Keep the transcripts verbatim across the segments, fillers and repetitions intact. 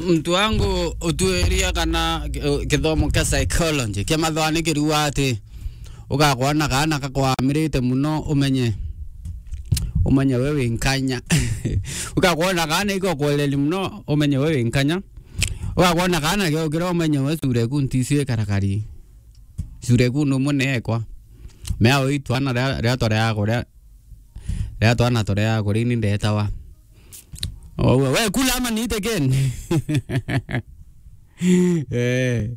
Muntu wangu, utuiria kana ki-, kithomo kia psychology kia mathwani kiriuga ati, ugakwona kaana gakwamirite muno, umenye, umenye we wi nkanya. Ugakwona kaana igokwereri muno, umenye we wi nkanya. Ugakwona kaana giokira, umenye we sura eku ntisi ikarakari. Sura eku ni umwe neekwa. Mea ui twana ria, ria tore yako, ria, ria twana tore yako, rini ndetawa. Oh, we, we kula ama niite ken? Eh.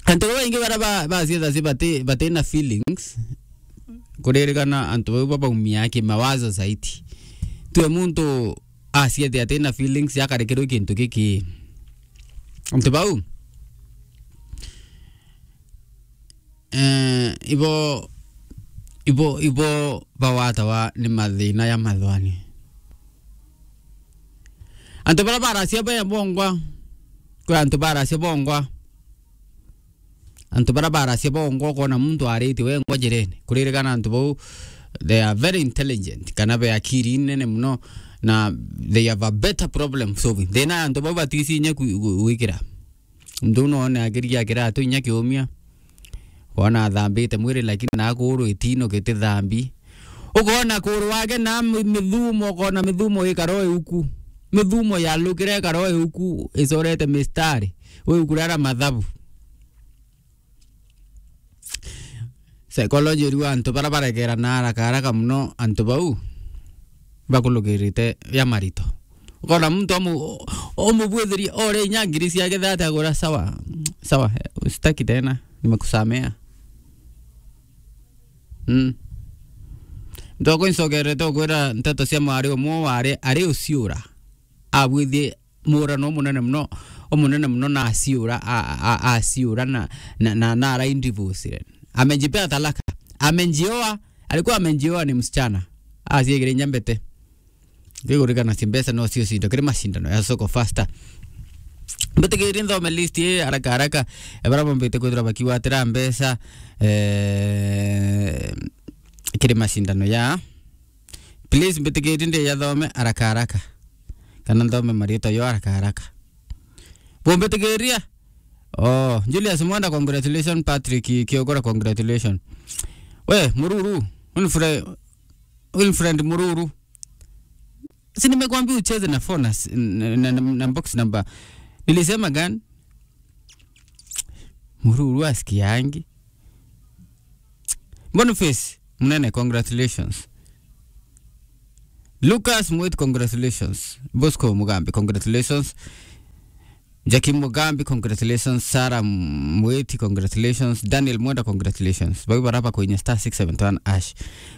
Antu babaingi bara ba, bacietha ci bati, bati na feelings. Kuririkana antu bau babaumia kimawazo zaidi. Tue muntu aciethe ati na feelings akarekerwe kintu giki. Antu bau, eh, ibo, ibo, ibo bawatawa ni mathina ya mathwani. Antu bara baracia be bongwa, kwi antu baracia bongwa. Antu bara baracia bongwa, ukona muntu aritie wengwa njirene. Kuririkana antu bau, they are very intelligent, kana be akiri nene muno, na they have a better problem solving. Thina ya antu bau batisi inya ku-, ku-, gwikira. Muntu no one akirigia kiratu inya kiumia. Wona athambite mwiri, lakini na kuru itino giti thambi. Ukona kuru wake na mi-, mithumo, ukona mithumo ikaro iuku. Mithumo yalukire ikaro iuku, icorete mistari. Iuku rara mathabu. Psychology iriuga antu bara baregerana haraka haraka muno, antu bau bakulugirite ya marito. Ukona muntu omu-, omubwithiria ore inya ngiri ciake thate agura, "Sawa, sawa, sitaki tena, nimekusamea." Mm. Ntoko incokerete ukwira nteto cia mwari umwe wari ari uciura. Abwithie murano umunene muno, umunene muno na aciura, a, a, a, aciura na, na, na, na araindivusire. Amejipea talaka. Amejioa, alikuwa amejioa ni msichana. Aciegere inya mbete. Ngigurikana ci mbeca no cio cindo kiri macindano ya soko faster. Mbitikiri nthome list ii haraka haraka. Ebara bombite kwithira bakigwatira mbeca, eh, kiri macindano ya Please, mbitikiri ndiyathome haraka haraka. Kana nthome marietwa yo haraka haraka. Bumbitikiria? Oh, Julius Mwenda, congratulations. Patrick Kiogora, congratulations. We, Mururu, Winfred, Winfred Mururu. Si nimekuambia ucheze na four na s-, na, na, na, na box number. Nilisema gani? Mururu asikiangi. Boniface Munene, congratulations. Lucas Mwiti, congratulations. Bosco Mugambi, congratulations. Jackie Mugambi, congratulations. Sarah Mwiti, congratulations. Daniel Mwenda, congratulations. Bau baraba kwinya star six seven one hash.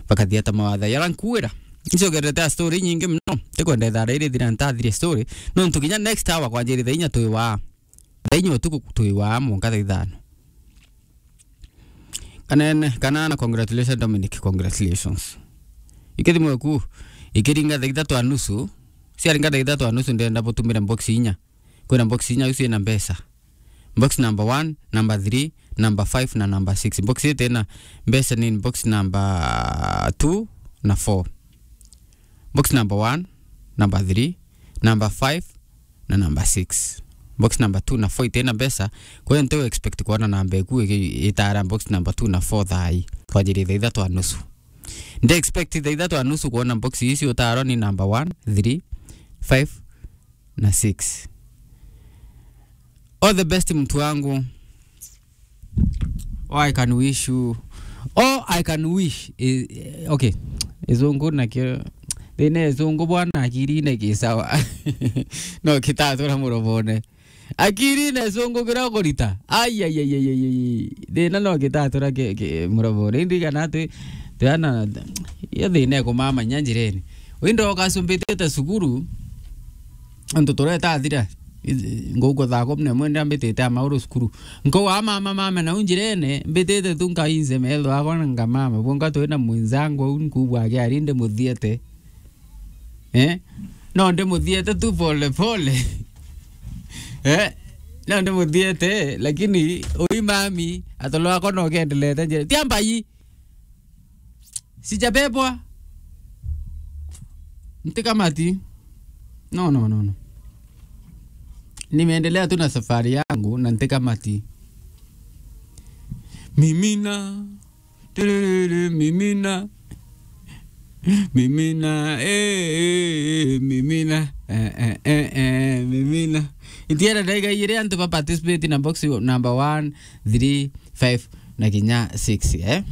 Bakathiata mawatha. Yara nkuira. Ncogerete a story nyingi muno. Tikwenda ithara iri thira ntathirie story. Nontu kinya next hour kwanjiri thaa inya twi wa. Thaa inya utuku twi wa mwanka thaa ithano. Kanene, Kanana, congratulations. Dominic, congratulations. Ikithimo eku, ikiringa thaa ithatu a nusu, ciaringa thaa ithatu a nusu, ndenda butumire box inya. Kwina box inya iu ciina mbeca. Box number one, number three, number five na number six. Box itina mbeca ni box number two na four. Box number one, number three, number five, na number six. Box number two na four itina mbeca, kwa hiyo ntiu expect kuona namba eku iki-, itara box number two na four thaa ii. Kwanjiri thaa ithatu a nusu. Ndi expect thaa ithatu a nusu kuona box ici utaro ni number one, three, five na six. All the best, mtu wangu. All I can wish you, all I can wish is, eh, okay. Izungu nakio, thina izungu bwana, akirine ki sawa. No kitatura murobone. Akirine izungu kira kurita. Ai, ai, ai, ai, ai, ai. Thina no kitatura ki, ki murobone. Indi kana twi, twana, iyo thina ikumamanya njirene. Windo ukasumbitite cukuru, antu tureta athira. Nguku thaa kumi na imwe ndambitite a mauru cukuru. Nkauga, "Mama, mama, nau njirene, mbitite tu nkainze metho akwa na nkamama. Bwonka twina mwenzangu au nkubwa ake ari ndimuthiete." Eh? No ndimuthiete tu pole pole. Eh? No ndimuthiete, lakini ui mami, atolo akwa no kendelete njire. Tia mbai. Sijabebwa. Ntikamati. No, no, no, no. nimeendelea tu na safari yangu na ntikamati. Mimina. Turururu, mimina. Mimina. Eh, eh, eh, mimina. Eh, eh, eh, eh, mimina. Itiera ndaiga igiri antu ba participate na box number one, three, five na kinya six, eh?